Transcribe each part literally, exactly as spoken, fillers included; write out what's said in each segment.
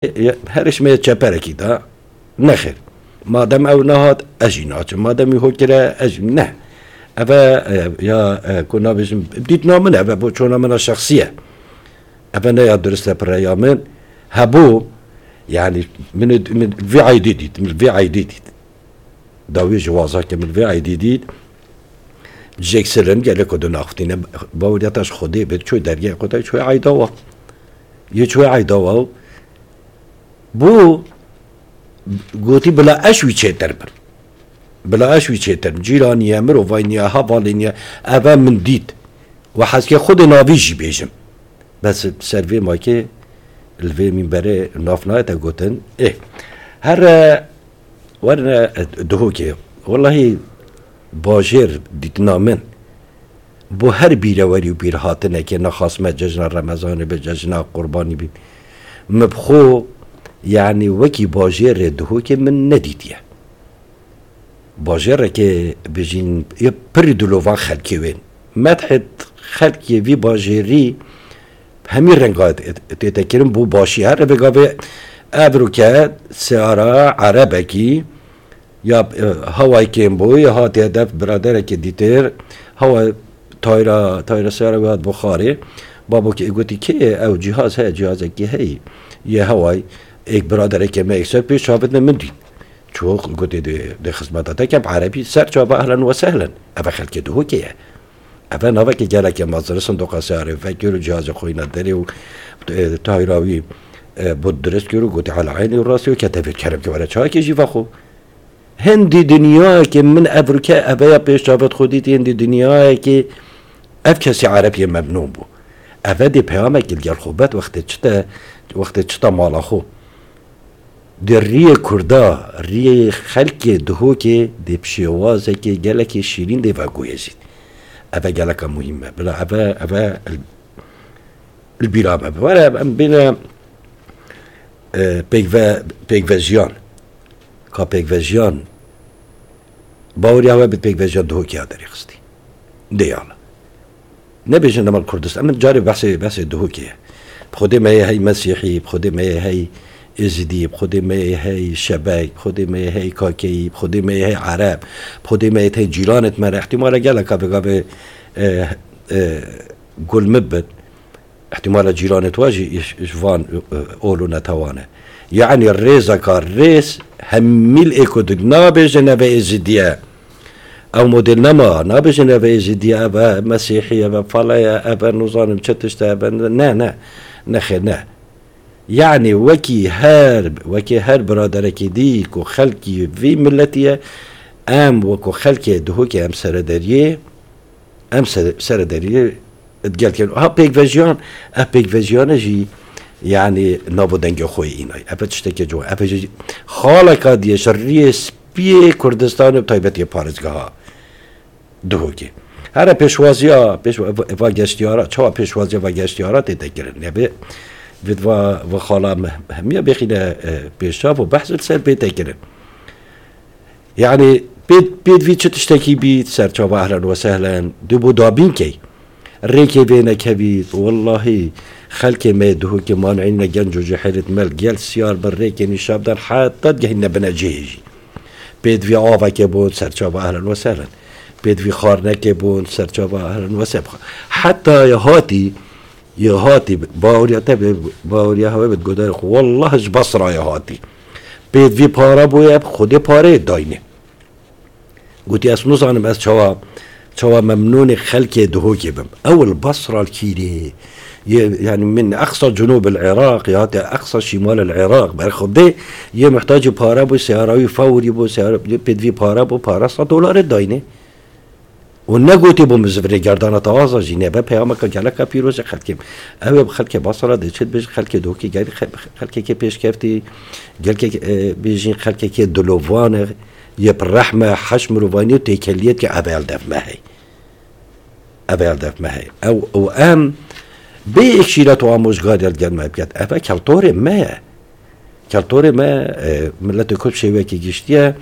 Her ji me çeperekî da. Nexêr. Madem ew nehat, ez jî naçim. Madem wî hokire, ez jî ne. Eve, e, ya, e, ku nabêjim, dîtina min, eve bo çona min a şexsî ye. Eve ne ya durist e, pireya min. Hebû, yani, min, min vê eydê dît, min vê eydê dît. Dawî ji waza ke min vê eydê dît. Jêk sirin gelek ku dinaxutîne, baweriya te ji Xwedê bê, çû dergehê xwe de, çû eyda wa. Yê çû eyda wa. Bû gotî, bila ez wî çêtir bim. Bila ez wî çêtir bim. Cîranî ye, mirovayî niye, hevalê niye. Eve min dît. We hezkê Xwedê navî jî bêjim. Bes ser vê makê li vê mînberê nav nayete gotin. Ê. Here werine Duhokê. Wellahî bajêr dîtina min. Bo her bîrewerî û bîrhatinekê, nexas me cejna Remezanê be, cejna Qurbanî bî. Min bi xwe, yanî wekî bajêrê Duhokê min nedîtiye. Bajêrekê bijîn, yê pirî dilovan xelkê wên. Medhê xelkê vî bajêrî hemî renga tê-, tête kirin bo başî. Her vê gavê evroke seyara erebekî, ya, e, hawayê kêm bû, ya hatiye dev biraderekê dîtir, hawa tayra, tayra seyara wî hat bo xarê. Babokê gotî, kê ye ew cihaz heye, cihazekî heyî, yê hawayî, êk biraderekê me êk ser pêş çavitine min dît. Çû gotê, dê, dê xizmeta te kem, erebî ser çava, ehlen we sehlen. Eve xelkê Duhokê ye. Eve navekê gelekê mezin, sindoqa seyarê vekir û cihazê xwe îna derê û, e, tayra wî, e, bû dirist kir û gotê, "Ela eynî û rastî û kete vê kerem ke were çayekê jî vexwe." Hindî dinyayekê min evrûke eve ya pêş çavê xwe dîtî, hindî dinyayekê ev kesî ereb yê memnûn bû. Eve dê peyamekî li gel xwe bet wextê çite, wextê çita mala xwe. Di riyê Kurda, riyê xelkê Duhokê dê bi şêwazekê gelekê şîrîn dê veguhêzît. Eve geleka muhîm e. Bila eve, eve li, li bîra me. Were em bêne, e, pêkve-, pêkvejiyan. Ka pêkvejiyan baweriya we bi pêkvejiya Duhokê ya derêxistî. Dê yala. Nebêjin dema li Kurdistan. Min carê behsê, behsê Duhokê ye. Bi Xwedê me yê hey Mesîhî, bi Xwedê me yê hey Êzidî, bi Xwedê me yê hey Şebek, bi Xwedê me yê hey Kakeyî, bi Xwedê me yê hey Ereb, bi Xwedê me yê hey cîranêt me re. Îhtîmale geleka vê gavê, e, e, gul min bin. Îhtîmale cîranêt we jî ji, ji van, e, ol û netewan e. Yanî rêzeka rêz hemî li êk û du nabêjin eve Êzidî ye. Ew model nema, nabêjin eve Êzidî ye, eve Mesîhî ye, eve fale ye, eve nizanim çi tişt e, eve ne, ne, ne xêr, ne. Yanî wekî her, wekî her biraderekî dî ku xelkî vî miletî ye, em wekî xelkê Duhokê em serederiyê, em se-, serederiyê digel kevin. Ha pêkvejiyan, ev pêkvejiyane jî, yanî navo dengê xwe yê înay. Ev tiştekê ciwan. Ev jî xaleka diye ji riyê spiyê Kurdistanê bi taybetî parêzgeha Duhokê. Here pêşwaziya, pêş-, va geştiyara, çawa pêşwaziya va geştiyara tête kirin? Nebê, vê va, va xala me-, hemiya bêxîne, e, pêşçav û behs li ser bête kirin. Yanî pê, pê divî çi tiştekî bî, serçava ehlen we sehlen, dê bo dabîn key. Rêkê vê nekevî, wellahî, xelkê me yê Duhokê manîne genc û cihêlêt me li gel siyar bin rêkê nîşa bidan, heta digehîne bine cihê jî. Pê divî avekê bûn, serçava ehlen we sehlen. Pê divî xwarinekê bûn, serçava ehlen we sehlen. Heta ya hatî, ya hatî, baweriya te bê, baweriya hewe bê, godarê xwe. Wallah ji Basra ya hatî. Pê divî para bûye, bi Xwedê pareyê dayne. Gotî, ez nizanim ez çawa, çawa memnûnê xelkê Duhokê bim. Ew li Basra li kîrê. Yê, yani min eqsa cunûb el Iraq, ya te eqsa şîmal el Iraq. Ber Xwedê yê muhtacî para bû, seyara wî fewrî bû, seyara, yê pêdivî para bû, para sed dolarê dayne. Û negotî bû min zivirê gerdana te aza jî nebe peyameka geleka pîroz e xelkê. Ew ê bi xelkê Basra dê çi dibêjin, xelkê Duhokê gelî xe-, xelkekê pêşkeftî, gelkek, e, bêjin xelkekê dilovan e, yê bi rehme, heş mirovanî û têkeliyet ke eve el dev me hey. Eve el dev me hey. Ew, û em bê êk şîret û amojgarî el gel me biket. Eve keltorê me ye. Keltorê me, e, miletê Kurd şêwekê giştiye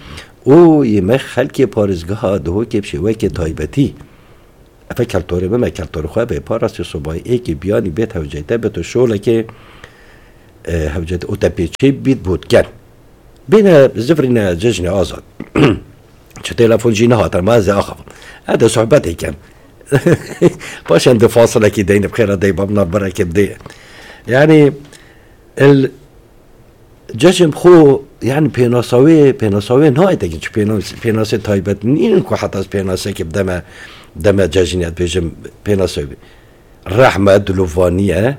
û yê me xelkê parêzgeha Duhokê bi şêwekê taybetî. Eve keltorê me, me keltorê xwe bê parastê sobayê êkê biyanî bê tewceyte, bê tu şolekê, e, hewcet û te pê çê bît bût ken. Bêne zivrîne cejnê azad. Çi telefon jî nehatin, ma ez ê axivim. Ez de sohbetê kem. Paşan di fasilekî deyne bi xêra dey bab navberekê bidê. Yani, el cejn xo, yani, pênasa wê, pênasa wê nayê tekin, çi pênas-, pênasê taybet nînin ku heta ez pênasekê bideme, deme cejnê, ez bêjim pênasa wê. Rehme, dilovanî ye,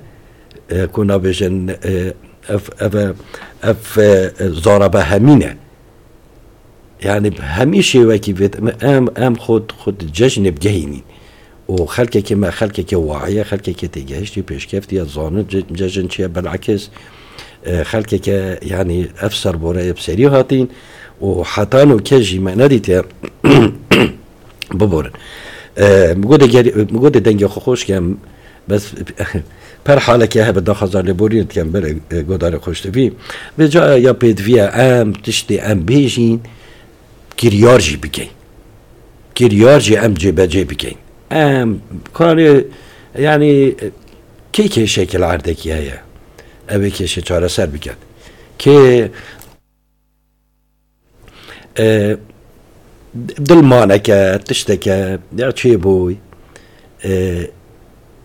e, ku nabêjin, e, ev, ev, ev, e, zarabe hemîn e. Yani, bi hemî şêwekî vêt, em, em, em xwe, xwe di cejnê bigehînîn. Û xelkekê me, xelkekê wahiye, xelkekê têgehiştî, pêşkeftî ye, zanin ce-, cejn çi ye, belekis, e, xelkekê, yani, ev serboreyê bi serî hatîn û heta no kes jî me nedîtiye. Biborin. E, min got ê gerî-, min got ê dengê xwe xweş kem, bes per haleke hebe daxwaza lêborînê dikem, belê, e, godarê xweştivî. Vê ca ya pêdiviye em tiştê em bêjîn, kiryar jî bikeyn. Kiryar jî em cêbecê bikeyn. Em karê, yani, kê kêşekî li erdekî heye, ew ê kêşê çareser biket. Kê E, dilmaneke, tişteke, ya çêbûy. E,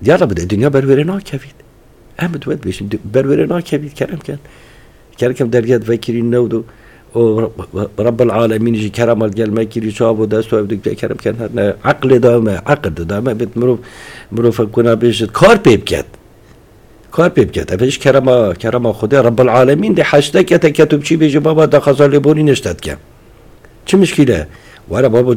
ya Rabbi, dinya berwêrê nakevît. Em bi we dibêjin, di-, berwêrê nakevît, kerem ken. Kerem ken dergeh vekirî newdo. O Rab-, Rabbil Alemîn jî kerema gel me kirî, çav û dest û ev dikte kerem ken her ne. Eqlê da me, eqil da me, bit mirov, mirov kuna bêjit, kar pê biket. Kar pê biket. Ev ji kerema, kerema Xwedê Rebbil Alemîn de heşte kete ket û biçî bêjî, baba, daxwaza lêborînê ji te dikem. Çi mişkîle? Were babo,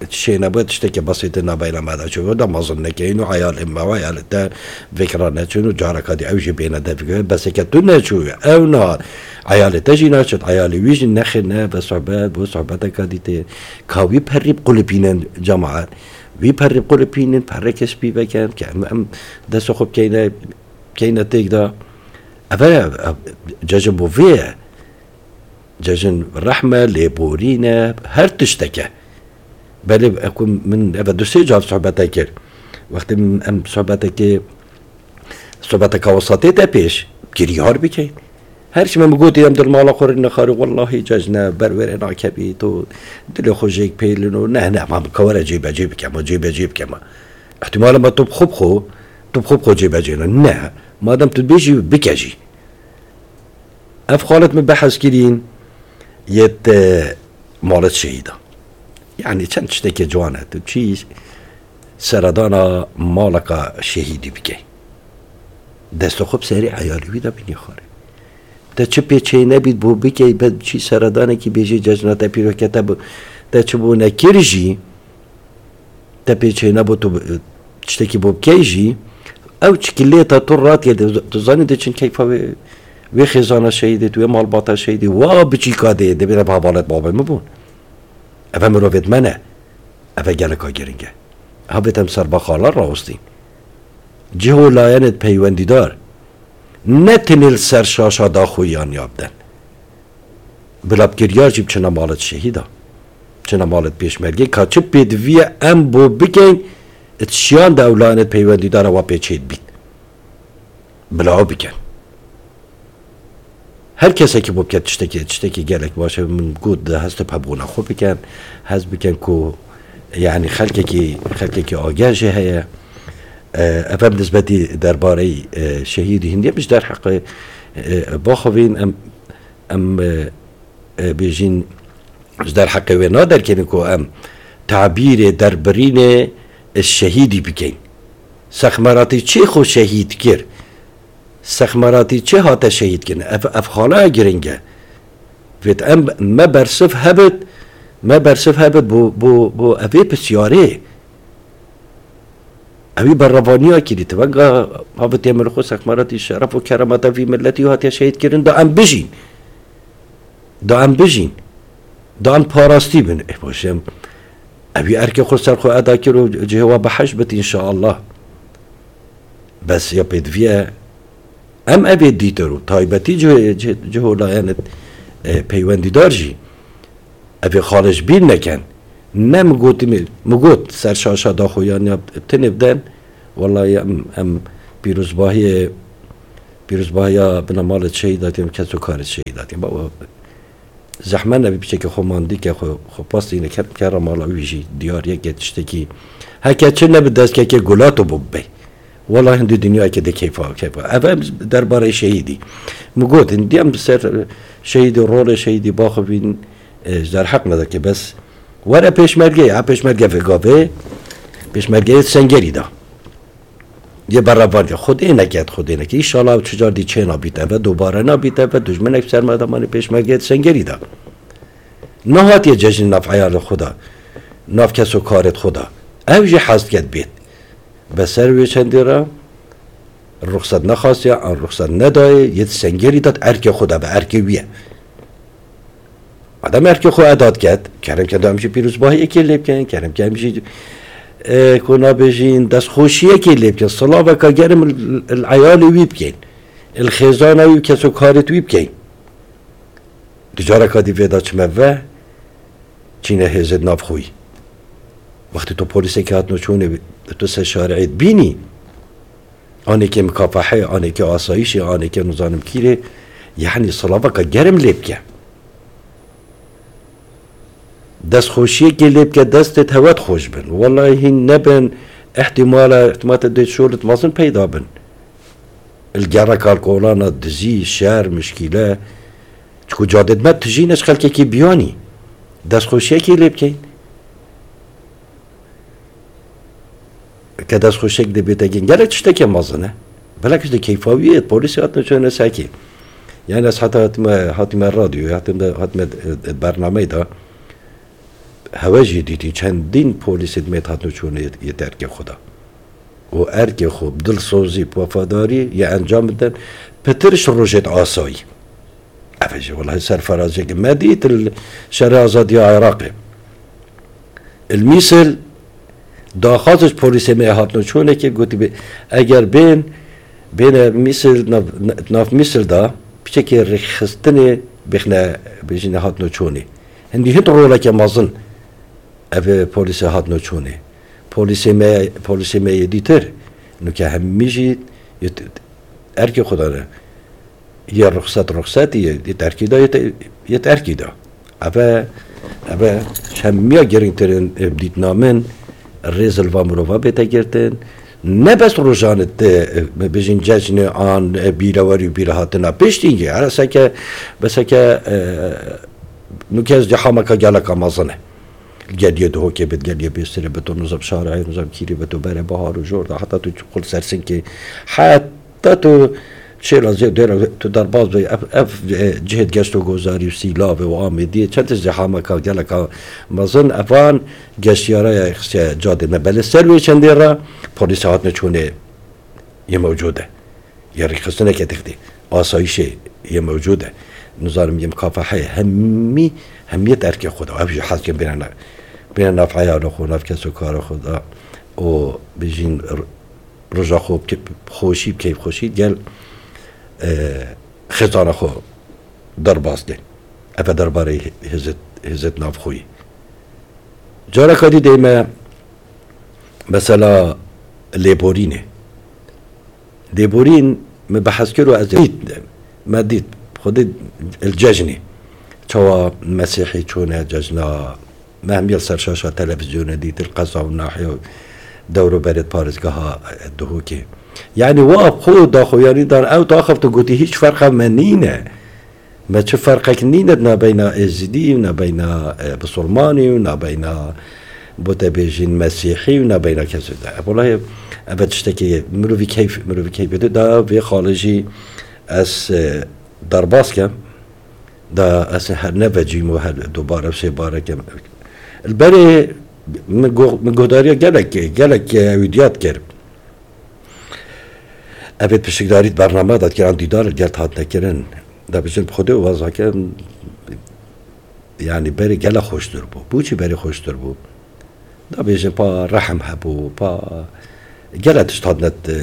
şêne bo tiştekê basît nabeyna me de çi da mezin nekeyin û eyalê me û eyalê te vekira neçin û careka dî ew jî bêne de fikir. Beseke tu neçû, ew na. Eyalê te jî naçin, eyalê wî jî nexê ne, be sohbet, bo sohbeteka dî tê. Ka wî perî bi qulipînin cemaet. Wî perî qulipînin, perreke spî vekin, ke em, em destê xwe bikeyne, bikeyne têk de. Ev e, ev, cejin bo vê ye. Cejin rehme, lêborîne, her tişteke. Belê, e, ku min eve du sê car sohbete kir. Wextê min, em sohbetekê, sohbeteka wisa tête pêş, kirî har bikeyn. Her çi me min gotî, em dil mala xwe rê nexarî, wellahî cejne, berwêrê nakevî, tu dilê xwe jêk pêlin û ne, ne, ma ka were cêbecê bike, ma cêbecê bike ma. Îhtîmal e ma tu bi xwe bi xwe, tu bi xwe bi xwe cêbecê ne. Ne, madem tu dibêjî, bike jî. Ev xalet min behs kirîn, yê te malet şehîda. Yani çend tiştekê ciwan e. Tu çî seredana maleka şehîdî bikey. Destê xwe bi serê eyalî wî de bînî xwarê. Te çi pê çê nebît bo bikey, be çî seredanekî bêjî cejna te pîrokete bi, te çi bo nekir jî, te pê çê nebû tu, tiştekî bo bikey jî, ew çikilê te tu radiye de, tu zanî de çin keyfa wê, wê xêzana şehîdê, tu wê malbata şehîdê, wa biçîka dê, dê bêne bi hevalet babê min bûn. Eve mirovêt me ne. Eve geleka giring e. Havêt em ser baxala rawestîn. Cih û layenêt peywendîdar. Ne tenê li ser şaşa daxuyanî ya biden. Bila bi kiryar jî biçine malet şehîda. Biçine malet pêşmergê. Ka çi pêdiviye em bo bikeyn, it şiyan de ew lanet peywendîdara wa pê çêdibît. Bila ew bikin. Her kesekî bo biket tiştekî, tiştekî gelek baş e. Min got, di heste bi hebûna xwe bikin. Hez bikin ku, yani, xelkekî, xelkekî ageh jê heye. E, ev em nisbetî derbareyî, e, şehîdî hindî em ji derheqê, e, baxivîn, em, em, e, e, bêjîn ji derheqê wê naderkevin ku em tabîrê derbirînê, e, şehîdî bikeyn. Sexmeratî çê xwe şehîd kir? Sexmeratî çê hate şehîd kirin? Ev, ev xala giring e. Vêt em, me bersiv hebit, me bersiv hebit bo, bo, bo evê pisyarê. Ewî berevaniya kirî, ti venga havitiye min xwe sexmeratî şeref û keremata vî milletî hatiye şehîd kirin, da em bijîn. Da em bijîn. Da em parastî bin. Ê, baş em, ewî erkê xwe ser xwe eda kir û cihê wa behişt bit înşaallah. Bes ya pêdiviye em evê dîtir û taybetî cih-, cih-, cih û layenê, e, peywendîdar jî evê xalê ji bîr neken. Ne min gotî, min, min got ser şaşa daxuyanî ya tinê biden. Wellahî em, em pîrozbahiyê Pîrozbahiya bina malê şehîdatên, kes û karê şehîdatên. Baba, zehmet nebî piçekê xwe mandî ke, xwe, xwe pastîne ke, ke ra mala wî jî diyar yeke tiştekî. Heke çi nebi dest keke gulato bû bibey. Wela hindî dinyayeke de keyfa, keyfa. Ev em derbarê şehîdî. Min got, hindî em ser şehîdî, rolê şehîdî baxivîn, e, ji derheq me de ke bes. Were pêşmergeyê, ha pêşmerge vê gavê, pêşmergeyê Sengerî de. Yê berevandiya. Xwedê neket, Xwedê neket. Înşallah ew çi car dî çê nabît eve, dubare nabît eve, dijminek ser me de manî pêşmergeyê Sengerî de. Nehatiye cejnê nav eyalê xwe de, nav kes û karê xwe de. Ew jî hez diket bêt. Be ser wê çendê re ruxsat nexastiye, an ruxsat nedayê, yê Sengerî de erkê xwe de be, erkê wî ye. Madem erkê xwe edat ket, kerem ke em jî pîrozbahiyekê lê bikin, kerem ke em jî, e, ku nabêjin, destxweşiyekê lê bikin, silaveka germ li, li eyalê wî bikeyn, li xêzana wî, kes û karêt wî bikeyn. Di careka dî vê de çime ve, çîne hêzê di nav xwe yî. Wextê tu polîsekê hatine çûnê, tu ser şarîê dibînî, anêkê mikafehê, anêkê asayîşê, anêkê nizanim kîrê, yanî silaveka germ lê bike. Destxweşiyekê lê bike, destê hewe xweş bin. Wellahî hîn nebin, îhtîmala, îhtîmala dê şolit mezin peyda bin. Li gereka li kolana dizî, şer, mişkîle, çiku cadê dime tijîne ji xelkekî biyanî. Destxweşiyekê lê bikeyn. Ke destxweşiyek dê bête gin, gelek tiştekê mezin e. Belek ji de keyfa wî yê, polîsê hatine çûne sekê. Yani ez heta hatime, hatime radyoyê, hatime, hatime, e, e, bernameyê de, hewe jî dîtî çendîn polîsê dimêt hatine çûne yê, yê erkê xwe de. Û erkê xwe bi dilsozî, bi wefadarî yê encam bidin, pitir ji rojêt asayî. Ev jî welahi serferaziyek me dît li şerê azadiya Iraqê. Li Mîsil daxwaz ji polîsê me hatine çûnekê, gotî bê, eger bên, bêne Mîsil, nav, nav Mîsil da piçekê rêxistinê bêxne bêjîne hatine çûnê. Hindî hind roleke mezin ev polîsê hatine çûnê. Polîsê me, polîsê me yê dîtir, nuke hemî jî yê t-, erkê xwe dane. Yê ruxset ruxsetî, yê, yê terkî de, yê te-, yê terkî de. Eve, eve hemiya girîngtirîn, e, dîtina min, rêz li va mirova bête girtin. Ne bes rojan te, e, bibêjin cejnê an, e, bîrewerî û bîrhatina piştî ye. Her seke, beseke, e, nuke ez cehameka geleka mezin e. Geliyê Duhokê bit, geliyê Bêstirê bit, û nizam Şarayê, nizam Kîrê bit, û berê Bahar û Jor de, heta tu çiqul Sersinkê, heta tu Şêla zê dêra tu derbas bî, ev, ev, e, cihêt geşt û gozarî û Sîlavê û Amêdiyê, çend tişt zî hameka geleka mezin, evan geştiyara ya xistiye cadê me. Belê ser wê çendê re polîs hatine çûnê yê mewcûd e. Yê rêxistineke dixtê. Asayîşê yê mewcûd e. Nizanim yê mukafeheyê hemî, hemiyet erkê xwe de. Ev jî hezkin bêne nav, bêne nav eyalê xwe, nav kes û karê xwe de. Û bijîn r-, roja xwe bi xweşî, bi keyfxweşî gel, e, xêzana xwe derbas kên. Ev e derbarê hêzet, hêzet navxweyî. Careka dî deyme mesela lêborînê. Lêborîn me behs kir û ez dît, me dît, xwedî li cejnê. Çawa Mesîhî çûne cejna, me hemî li ser şaşa televîzyonê dît, li qeza û nahiye û dewr û berê parêzgeha Duhokê. Yanî wa xwe daxuyanî dan, ew daxiftin gotî, hîç ferqa me nîne. Me çi ferqek nîne nabeyna Êzidî û nabeyna, e, Bisilmanî û nabeyna, bo te bêjin, Mesîhî û nabeyna kesê de. E, welahi, ev tiştekî mirovî keyf, mirovî keyfê de da vê xalê jî ez, e, derbas kem. Da ez her nevecîm û her dubare sê bare kem. Li berê min go-, min guhdariya gelek, gelek, e, wî diyat kir. Evê pişikdarî di bername de kiran dîdar gel hatine kirin. Da bijin bi Xwedê û wazake, yanî berê gele xweştir bû. Bû çi berê xweştir bû? Da bêjin pa rehm hebû, pa gele tişt hatine, e,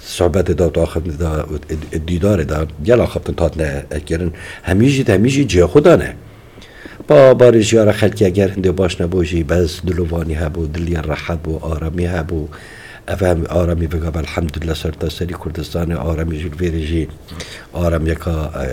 sohbetê de, daxiftinê de, e, e, dîdarê de, gela xiftin hatine kirin. Hemî jî, hemî jî cihê xwe dane. Pa barê jiyara xelkê eger hindê baş nebû jî, bes dilovanî hebû, dilê rehet bû, aramî hebû. Ev em aramî bigav elhamdülillah serta serî Kurdistanê aramî jî vêrê jî aramiyeka e,